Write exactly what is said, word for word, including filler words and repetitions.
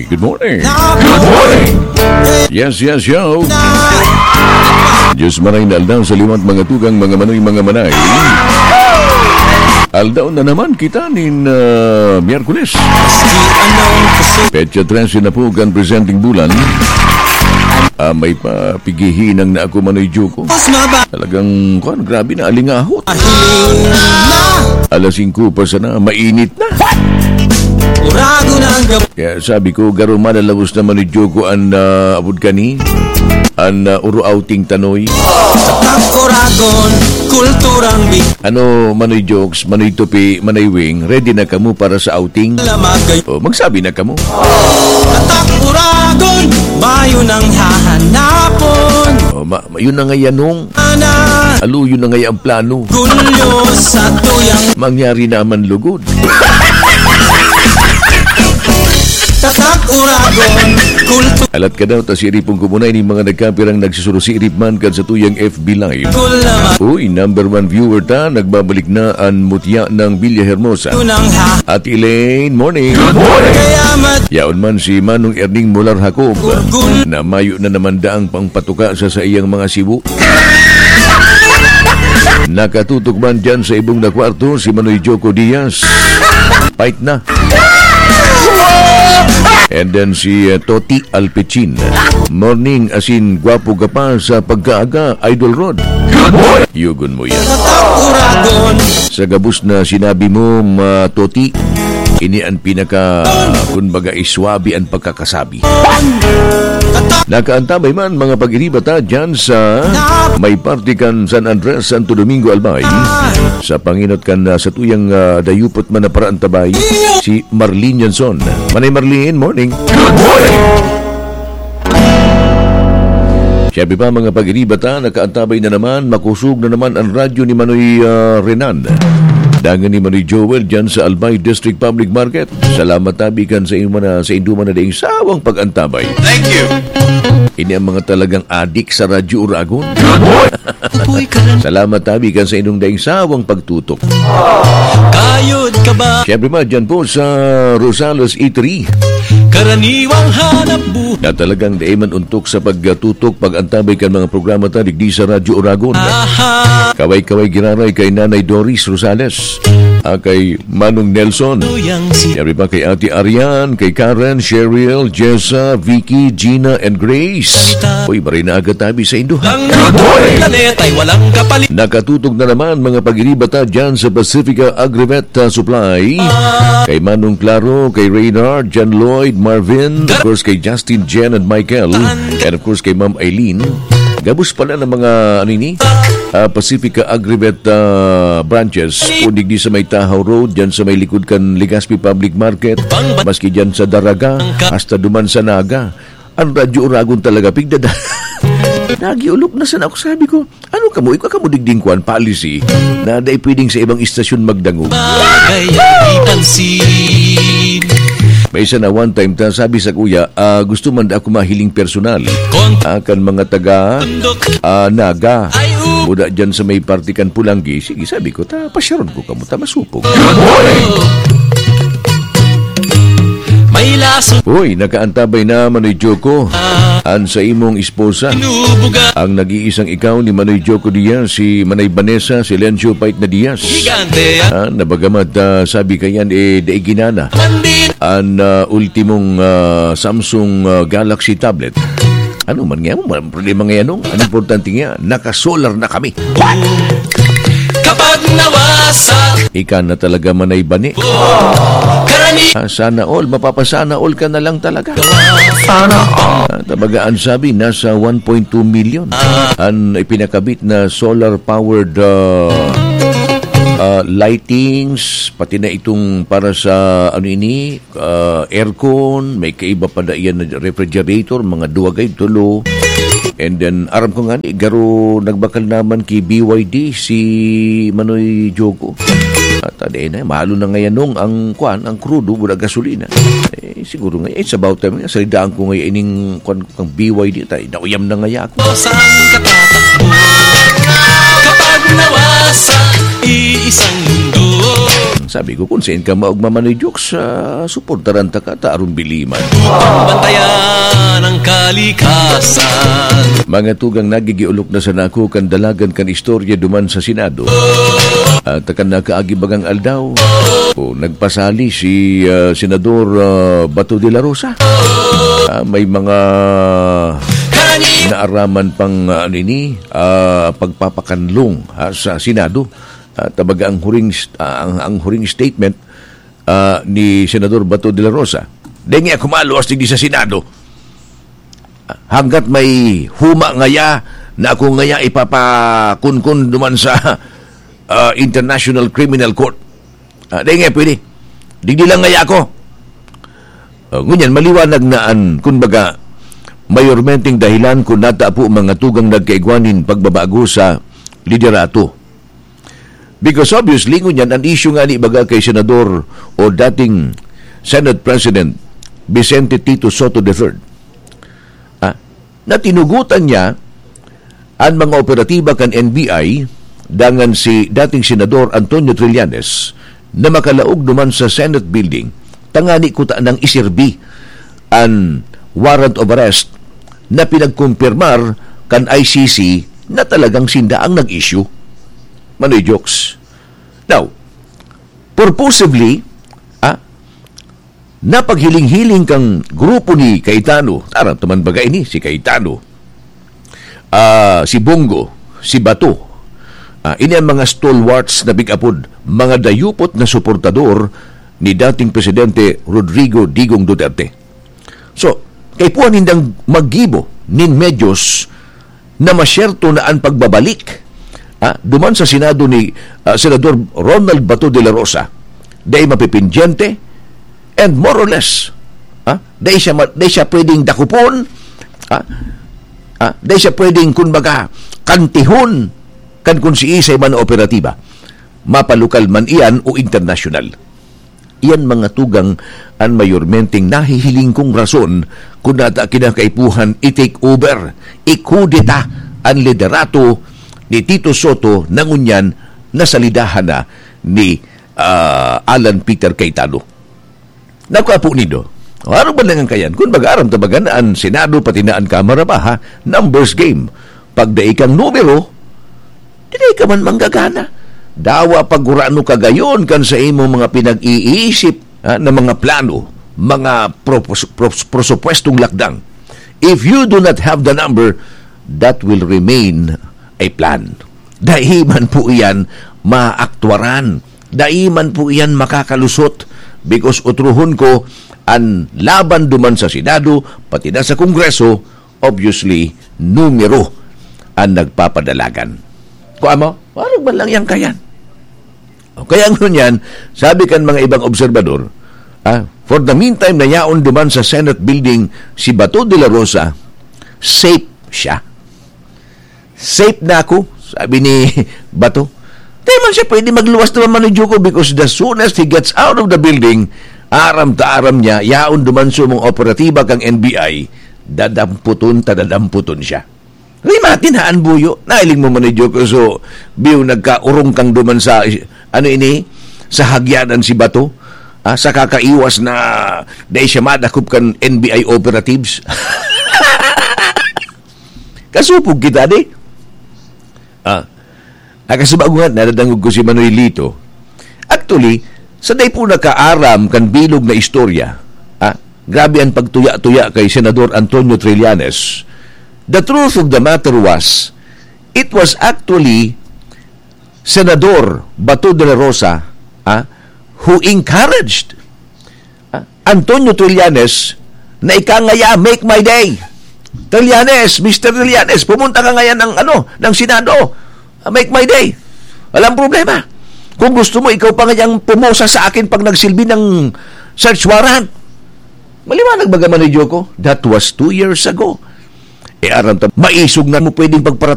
Good morning. Yes, yes, yo. Diyos maray na aldaw sa liwat, mga tugang, mga manoy, mga manay. Aldaw na naman kita nin, ah, Miyerkules. Petsa trese na po kan presenteng bulan. Ah, may pa pighihinang na ako, Manoy Joko. Mas maba- Talagang, kuwan, grabe na, alingahot. Alas singko pa sana, mainit na. Uragon ang gab- Kaya sabi ko, garo malalabos na, Manoy Joko, an, ah, abot kani, an, ah, uro outing tanoy. Sa Uragon, kulturang bi- Ano, Manoy Jokes, Manoy Tupi, Manoy Wing, ready na kamo para sa outing? Lamagay. O, magsabi na kamo. Tatak Uragon, mayo nang hahanapon. O, ma-, yun na nga yanong. Ana. Alo, yun na nga yung plano. Gulyo sa tuyang. Mangyari naman lugod. Tatak Uragon, kultu- Alat ka daw, ta siiripon ko muna ining mga nagkapirang nagsusurusiirip man kan sa tuyang F B Live. Kulaman. Uy, number one viewer ta, nagbabalik na an mutya ng Villa Hermosa. Tunang ha- Ate Elaine, morning. Good morning. Kaya mat- Yaon man si Manong Erning Molar Jacob, Gurgun. Na mayo na naman daang pangpatuka sa saiyang mga sibo. Nakatutok man dyan sa ibong na kwarto si Manoy Joko Diaz. Fight na. And then si, uh, Toti Alpecin. Morning, asin gwapo ka pa sa pagkaaga, Idol Rod. Good morning. Yugon mo yan. Uragon. Sa gabos na sinabi mo, ma Toti, ini ang pinaka, kumbaga, iswabi ang pagkakasabi. Nakaantabay man, mga pag-iriba ta, dyan sa may parte kan San Andres, Santo Domingo, Albay. Sa pangenot kan, ah, sa tuyang, ah, dayupot man na paraantabay, si Marlene Yanson. Manay Marlene, morning. Good morning. Siyempre pa, mga pag-iriba ta, nakaantabay na naman, makusog na naman ang radyo ni Manoy, ah, Renan. Dangan ni Manoy Joel dyan sa Albay District Public Market. Salamat tabi kan sa inyo man na, sa indo man na daing sawang pag-antabay. Thank you. Ini ang mga talagang adik sa Radyo Uragon. Good morning. Salamat tabi kan sa inyong daing sawang pagtutok. Kayod ka ba? Siyempre man, dyan po sa Rosales Eatery. Karaniwang hanap buhay. Na talagang dai man untok sa pagtutok, pag-antabay kan mga programa ta digdi sa Radyo Uragon. Aha. Kaway-kaway giraray kay Nanay Doris Rosales. Ah, kay Manong Nelson. Tuyang si Siyempre pa kay Ate Arian, kay Karen, Cheryl, Jessa, Vicky, Gina, and Grace. Uy, maray na aga tabi sa indo, ha? Ang planeta'y walang kapalit. Nakatutok na naman, mga pag-iriba ta dyan sa Pacifica Agrivet, ah, Supply. Kay Manong Claro, kay Reynard, John Lloyd, Marvin, of course, kay Justin, Jen, and Michael, and of course, kay Ma'am Eileen. Gabos pala ng mga, ano ini? Ah, Pacifica Agrivet, ah, branches. Kung digdi sa may Tahaw Road, dyan sa may likod kan Legazpi Public Market, maski dyan sa Daraga, hasta duman sa Naga. Ang Radyo Uragon talaga, pigdada. Nagiulop na sana ako, sabi ko, "Ano kamo? Ikaw kamo digding kwan, policy na dai pwedeng sa ibang istasyon magdangog?" Bagay ang ipansin. May isa na one time ta, sabi sa kuya, "Ah, gusto man da ako mahiling personal." Kon- Ah, kan mga taga, Tundok. Ah, Naga. Ay, u- Buda dyan sa may parte kan Pulanggi. Sige, sabi ko, ta, pasyaron ko kamo, ta, masupog. Good morning. May laso. Uy, nakaantabay na, Manoy Joko. An sa imong esposa. Inubuga. Ang nag-iisang ikaw ni Manoy Joko Diaz, si Manay Vanessa, si Lencio Pait na Diaz. Gigante. Ah, nabagamat, ah, sabi kayan, eh, dai ginana. Mandin. An, ah, ultimong, ah, Samsung, ah, Galaxy tablet. Ano man nga mo, walang problema nga yan, no? Ang importante nga, naka-solar na kami. Kapag nawasa. Ika na talaga, Manay Bani. Karani. Ah, sana all, mapapasana all ka na lang talaga. Sana all. Ah, tabaga, ang sabi, nasa one point two million an ipinakabit na solar-powered, ah, ah, lightings, pati na itong para sa, ano ini, ah, aircon, may kaiba pa da iyan na refrigerator, mga duwa gayod, tulo. And then, aram ko nga ni, garo nagbakal naman ki B Y D si Manoy Joko. At, ah, di na, mahal na ngayon nung ang, kwan, ang krudo, wala gasolina. Eh, siguro nga, it's about time nga, salitaan ko nga ining, kwan, ang B Y D, tay, nauyam na nga ako. Saan ka tatakbo? Kapag nawasa, iisang mundo. Sabi ko, "Kung sain ka maugma, Manoy Jokes, ah, suportaran ta ka, ta aron biliman." Bantayan ang kalikasan. Mga tugang, nagigiolok na sana ako kan dalagan kan istorya duman sa Senado. At kan nakaagi bagang aldaw, o, nagpasali si, ah, Senador, ah, Bato de la Rosa. Ah, may mga naaraman pang, ah, ano ini, ah, pagpapakanlong, ha, sa Senado. Ah, tabaga ang huring st-, ah, ang, ang huring statement, ah, ni Senador Bato de la Rosa. Dai ngaya ako maluwas digdi sa Senado. Ah, hanggat may huma ngaya na ako ngaya ipapakunkun duman sa, ah, International Criminal Court. Ah, dai ngaya pwede. Digdi lang ngaya ako. Ah, ngunyan, maliwanag na an, kumbaga, mayormenteng dahilan kun nata po mga tugang nagkaigwa nin pagbabago sa liderato. Because obviously, ngunyan, an issue ngani baga kay Senador o dating Senate President Vicente Tito Soto the third, ah, na tinugutan niya an mga operatiba kan N B I, dangan si dating Senador Antonio Trillanes na makalaog duman sa Senate Building, tangani kuta nang iserbi an warrant of arrest na pinagkumpirmar kan I C C na talagang sinda ang nag-issue. Manoy Jokes. Now, purposively, ah, napaghiling-hiling kan grupo ni Cayetano, aram ta man baga ini, si Cayetano, ah, si Bong Go, si Bato, ah, ini ang mga stalwarts na big-apod, mga dayupot na suportador ni dating Presidente Rodrigo Digong Duterte. So, kaipuhan nindang maggibo nin medyos na masyerto na an pagbabalik, ah, duman sa Senado ni, ah, Senador Ronald Bato de la Rosa, dai mapipindyente, and more or less, ah, dai siya ma-, dai siya pwedeng dakopon, ah, ah, dai siya pwedeng, kumbaga, kantihon kan kun siisay man na operatiba, mapalokal man iyan o internasyonal. Iyan mga tugang an mayormenteng nahihiling kong rason kun nata kinakaipuhan i-take over, ikudeta an liderato ni Tito Soto na ngunyan nasalidahan na ni, ah, Alan Peter Cayetano. Naku, Apo Nido, arog man lang an kayan. Kun baga, aram ta baga na an Senado, pati na an Kamara ba, ha? Numbers game. Pag dai kang numero, di dai ka man manggagana. Dawa pagurano ka gayon kan sa imong mga pinag-iisip, ha, na mga plano, mga propos-, pros-, prosupwestong lakdang. If you do not have the number, that will remain a plan. Dai man po iyan maaktwaran. Dai man po iyan makakalusot, because utrohon ko, an laban duman sa Senado, pati na sa Kongreso, obviously, numero an nagpapadalagan. Kung amo, warog man lang yan kayan. O kaya ngunyan, sabi kan mga ibang obserbador, ah, for the meantime, nayaon duman sa Senate building si Bato de la Rosa, safe siya. "Safe na ako," sabi ni Bato. Di man siya pwede magluwas naman, Manoy Joko, because the soonest he gets out of the building, aram ta aram niya, yaon duman sa mga operatiba kang N B I, dadamputon ta dadamputon siya. Rimatin haan buyo. Nailing mo, Manoy Joko, so, biyo nagkaurong kang duman sa, ano ini, sa hagyanan si Bato, ah, sa kakaiwas na dai siya madakop kan N B I operatives. Kasupog kita, di? Ah, nakasubago nga, nadadangog ko si Manoy Lito. Actually, sa dai po nakaaram kan bilog na istorya, ah, grabe ang pagtuya-tuya kay Senador Antonio Trillanes. The truth of the matter was, it was actually Senador Bato de la Rosa, ah, who encouraged, ah, Antonio Trillanes na ika ngaya, "Make my day. Trillanes, Mister Trillanes, pumunta ka ngayon ng, ano, ng Senado. Ah, make my day. Walang problema. Kung gusto mo, ikaw pa ngayang pumusa sa akin pag nagsilbi ng search warrant." Maliwanag ba, Manoy Joko? That was two years ago. E aram ta, maisog na mo pwedeng pagpara-